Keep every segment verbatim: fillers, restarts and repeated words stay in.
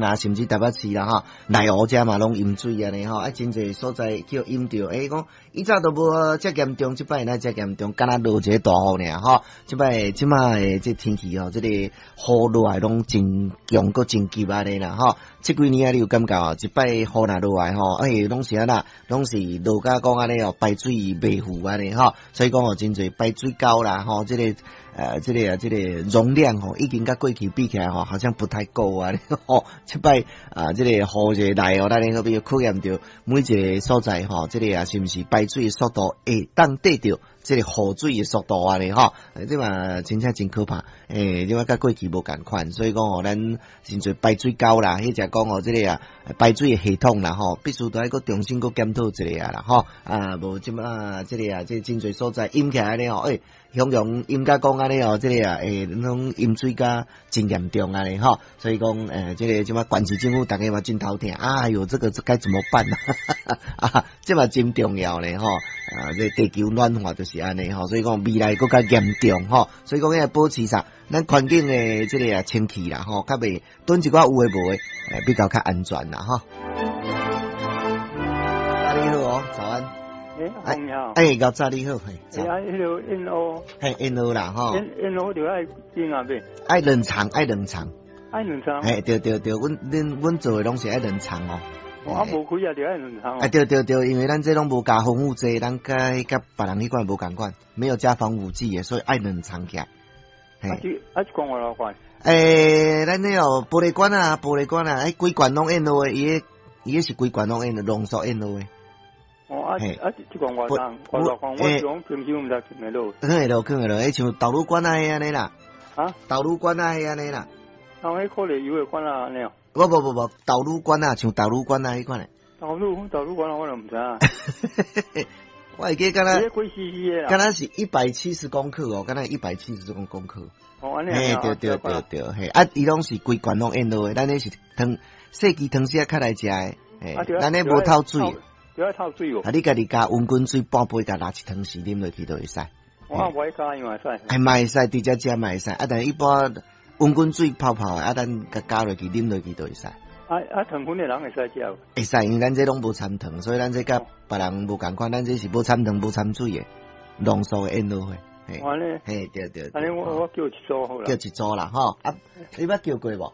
啊，甚至台北市啦吼，內湖遮嘛攏淹水按呢吼，啊，真濟所在叫淹著，欸，講以前都無遮嚴重，這擺若遮嚴重，敢若落一个大雨爾吼，這擺這擺的這天氣吼，這个雨落來攏真強閣真急按呢啦吼，這幾年啊，你有感覺哦？一擺雨若落來吼，欸，攏是按怎，攏是落甲講按呢哦，排水袂赴按呢吼，所以講哦，真濟排水溝啦吼，這個呃，這個啊，這個容量吼，已經佮過去比起來吼，好像不太夠啊，吼，這擺啊，這個雨一來哦，咱好比考驗著每一个所在吼，這個啊，是毋是排水的速度會當綴著這個雨水的速度按呢吼？這嘛真正真可怕，欸，這嘛佮過去無仝款，所以講哦，咱真濟排水溝啦，彼者講哦，這個啊排水的系統啦吼，必須都愛閣重新閣檢討一下啦吼，啊，無這馬這個啊，這真濟所在淹起來咧吼，欸，雄雄淹甲講按呢哦，這個啊，欸，攏淹水甲真嚴重按呢吼，所以講，欸，這個這馬縣市政府逐家嘛真頭疼，哎喲，這個該怎麼辦啊？這嘛真重要咧吼，啊，這地球暖化就是按呢吼，所以講未來閣較嚴重吼，所以講愛保持啥，咱環境的這個啊清氣啦吼，較袂囤一寡有的無的，欸，比較較安全啦吼。你好哦，早安。欸，阿你好。欸，𠢕早你好，嘿。欸，啊，彼个燕窩。嘿，燕窩啦，吼。燕燕窩就愛冰啊，袂？愛冷藏，愛冷藏。愛冷藏。嘿，對對對，阮阮阮做的攏是愛冷藏哦。啊，無開啊，就愛冷藏。啊，對對對，因為咱這攏無加防腐劑，咱佮佮別人彼款無仝款，沒有加防腐劑的，所以愛冷藏起來。啊，這啊，一罐偌偌罐？欸，咱那哦玻璃罐啊，玻璃罐啊，欸，規罐攏燕窩的，伊个伊个是規罐攏燕的，濃縮燕窩的。哦，啊啊，這罐偌重？偌大罐？我是講平常毋知放會落。放會落，放會落，彼像豆乳罐仔彼按呢啦。啊？豆乳罐仔彼按呢啦。啊，彼可樂油的罐仔按呢哦？無無無無，豆乳罐仔，像豆乳罐仔彼款的。豆乳豆乳罐仔我就毋知影。我會記敢若，幾 C C 的啦？敢若是一百七十公克哦，敢若一百七十公公克。哦，按呢。嘿，對對對對，嘿，啊，伊攏是規罐攏燕窩的，咱彼是湯細支湯匙仔較來食的，嘿，咱彼無透水。就愛透水無？啊，你家己加溫滾水半杯，共抐一湯匙啉落去就會使。我無愛加伊嘛會使。哎，嘛會使，直接食嘛會使。啊，但一般溫滾水泡泡的，啊，咱共加落去啉落去就會使。啊啊，糖分的人會使食無？會使，因為咱這攏無摻糖，所以咱這佮別人無仝款，咱這是無摻糖、無摻水的濃縮的燕窩花。按呢？嘿，對對。按呢，我我叫一組好啦。叫一組啦，吼。啊，你捌叫過無？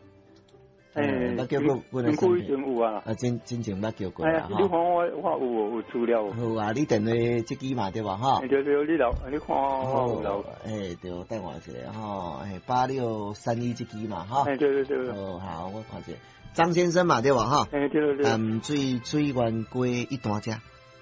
欸，捌叫過，真久以前有啊。啊，真真前捌叫過啦。你看我我有有資料。好啊，你電話這支嘛對無吼？對對，你留，你看我有留。欸，對，等我一下吼，欸，八六三一這支嘛吼。欸，對對對。哦，好，我看一下，張先生嘛對無吼？欸，對對對。淡水水源街一段遮。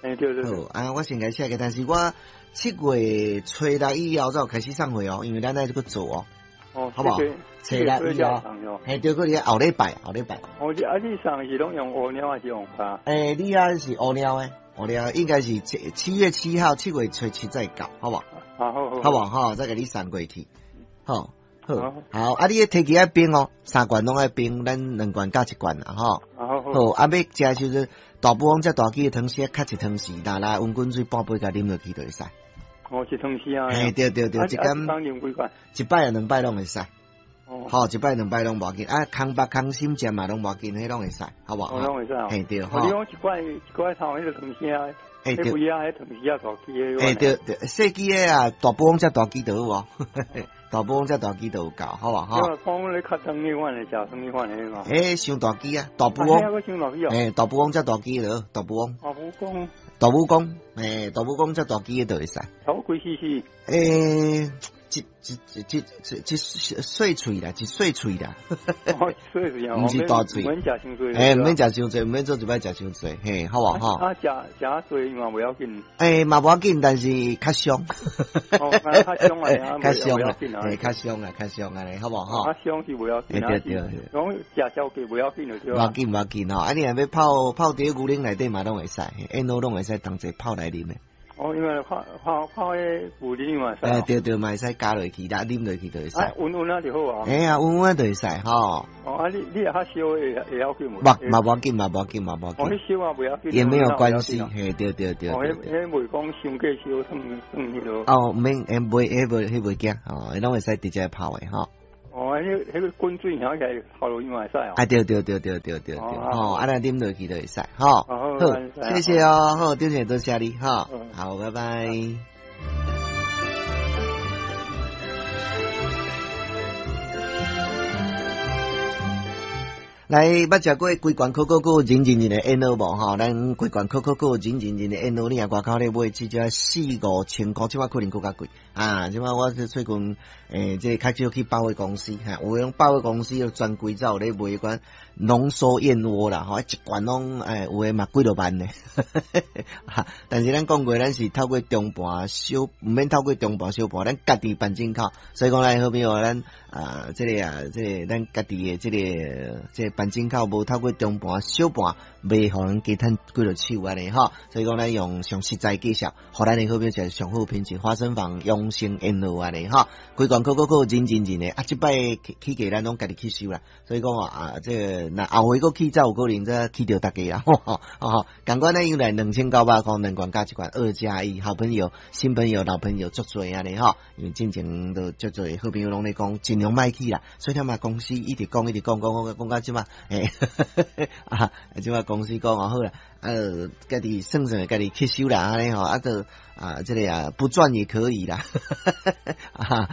欸，對對。好，啊，我先共寫個，但是我七月初六以後才有開始送貨哦，因為咱愛閣做哦。哦，好無好？初六以後，嘿，對，閣咧後禮拜，後禮拜。哦，啊，你送是攏用烏貓還是用卡？欸，你遐是烏貓的，烏貓應該是七七月七號，七月初七再到，好無？好好好，好無吼，再共你送過去。好，好，好，啊，你彼提起愛冰哦，三罐攏愛冰，咱兩罐加一罐啦，吼。好好。好，啊，欲食時陣大富翁遮大支的湯匙，較一湯匙，拿來溫滾水半杯，共啉落去就會使。哦，一湯匙啊。嘿，對對對，一工一擺啊，兩擺攏會使。哦。好，一擺兩擺攏無要緊，啊，空腹空心食嘛攏無要緊，彼攏會使，好無？攏會使。嘿對。你講一罐一罐頭彼個湯匙啊，欸對。彼幾啊，彼湯匙啊大支的。欸對對，細支的啊，大富翁遮大支就有哦。大富翁遮大支就有夠，好無？吼。講咧較長彼款的，食長彼款的嘛。欸，傷大支啊，大富翁。欸，大富翁遮大支就大富翁。大富翁。大富翁，欸，大富翁遮大支的就會使。差不多幾 C C？欸，一一一一一細喙啦，一細喙啦。細喙啊，毋是大喙。毋免食傷濟。欸，毋免食傷濟，毋免做一擺食傷濟，嘿，好無吼？啊，食食濟嘛袂要緊。欸，嘛無要緊，但是較傷。哦，較傷啊，較傷啊，嘿，較傷啊，較傷按呢，好無吼？較傷是袂要緊，對對對。講食宵夜袂要緊就對。無要緊，無要緊吼，啊，你若欲泡泡佇牛奶內底嘛，攏會使，燕窩攏會使同齊泡來啉的。哦，因為泡泡泡彼牛奶嘛會使。欸，對對，嘛會使加落去，啦，啉落去就會使。溫溫啊就好啊。欸啊，溫溫就會使吼。哦，啊，你你若較燒會會要緊無？無，嘛無要緊，嘛無要緊，嘛無要緊。哦，彼燒啊袂要緊。也沒有關係，嘿，對對對。哦，彼彼袂講傷過燒，算算彼落。哦，免，欸，袂，彼袂，彼袂驚，吼，彼攏會使直接泡的，吼。哦，彼彼个滾水響起來頭路伊嘛會使哦。啊，對對對對對對對，吼，啊，咱啉落去就會使，吼。好，謝謝哦，好，張姐多謝你，吼，好，拜拜。來，捌食過規罐可可可認認認的燕窩無吼？咱規罐可可可認認認的燕窩，你若外口咧買，至少四五千箍，這擺可能閣較貴啊！這擺我最近欸，這個較少去百貨公司，哈，有的百貨公司專櫃才有咧賣彼款濃縮燕窩啦，吼，一罐攏欸，有的嘛幾落萬呢。但是咱講過，咱是透過中盤小，毋免透過中盤小盤，咱家己辦進口，所以講咱好朋友咱啊，這個啊，這個咱家己的這個這個。辦進口無透過中盤小盤，袂予人加趁幾落手按呢吼，所以講咱用上實在介紹，予咱的好朋友食上好品質花生坊養生燕窩按呢吼，規罐可可可認認認的，啊，這擺起價咱攏家己去收啦，所以講啊，這個若後回閣起才有可能才起著大家啊，吼吼，仝款咱又來兩千九百箍兩罐加一罐二加一，好朋友、新朋友、老朋友足濟按呢吼，因為進前都足濟好朋友攏咧講盡量莫起啦，所以聽嘛公司一直講一直講講講講到這擺。欸，啊，這擺公司講哦好啦，啊，家己算算家己吸收啦，按呢吼，啊，就啊，這個啊不賺也可以啦，啊，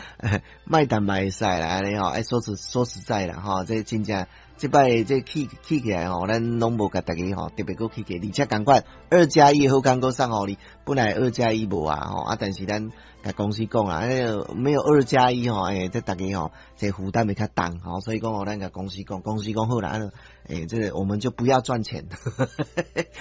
莫趁嘛會使啦，按呢吼，愛說實說實在啦，吼，這真正這擺這起起起來吼，咱攏無共大家吼特別閣起價，而且仝款二加一好康閣送予你，本來二加一無啊吼，啊，但是咱共公司講啊，沒有二加一吼，欸，這大家吼，這負擔會較重吼，所以講吼，咱共公司講，公司講好啦，啊，欸，這個我們就不要賺錢，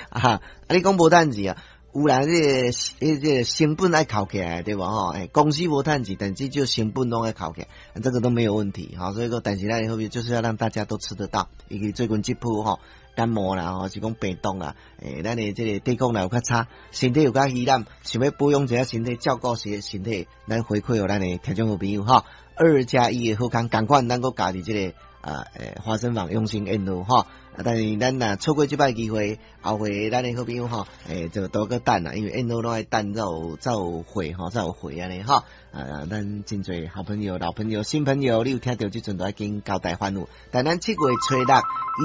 啊，啊，你講無趁錢啊？有人這個、這個成本愛扣起來，對無吼？欸，公司無趁錢，但是就成本攏愛扣起來，這個都沒有問題，吼。所以講，但是咱後面就是要讓大家都吃得到，因為最近這波吼感冒啦，吼是講病毒啦，欸，咱的這個抵抗力有較差，身體有較虛懶，想欲保養一下身體，照顧身身體，咱回饋予咱的聽眾好朋友吼，二加一的好康，仝款咱閣加佇這個啊，欸，花生坊養生燕窩吼。但是咱若錯過這擺機會，後回咱的好朋友吼，欸，就多閣等啦，因為燕窩攏愛等才有才有貨吼，才有貨按呢吼。啊，咱真濟好朋友、老朋友、新朋友，你有聽著這陣都愛緊交代吩咐。但咱七月初六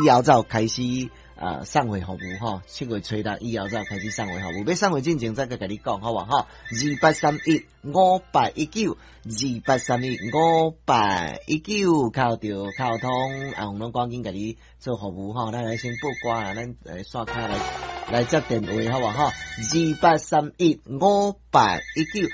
以後才有開始啊送貨服務吼，七月初六以後才有開始送貨服務。欲送貨進前再閣共你講好無吼？二八三一五八一九，二八三一五八一九，敲著敲通，阿紅攏趕緊共你做服務吼。咱來先報歌啦，咱來刷卡來來接電話好無吼？二八三一五八一九。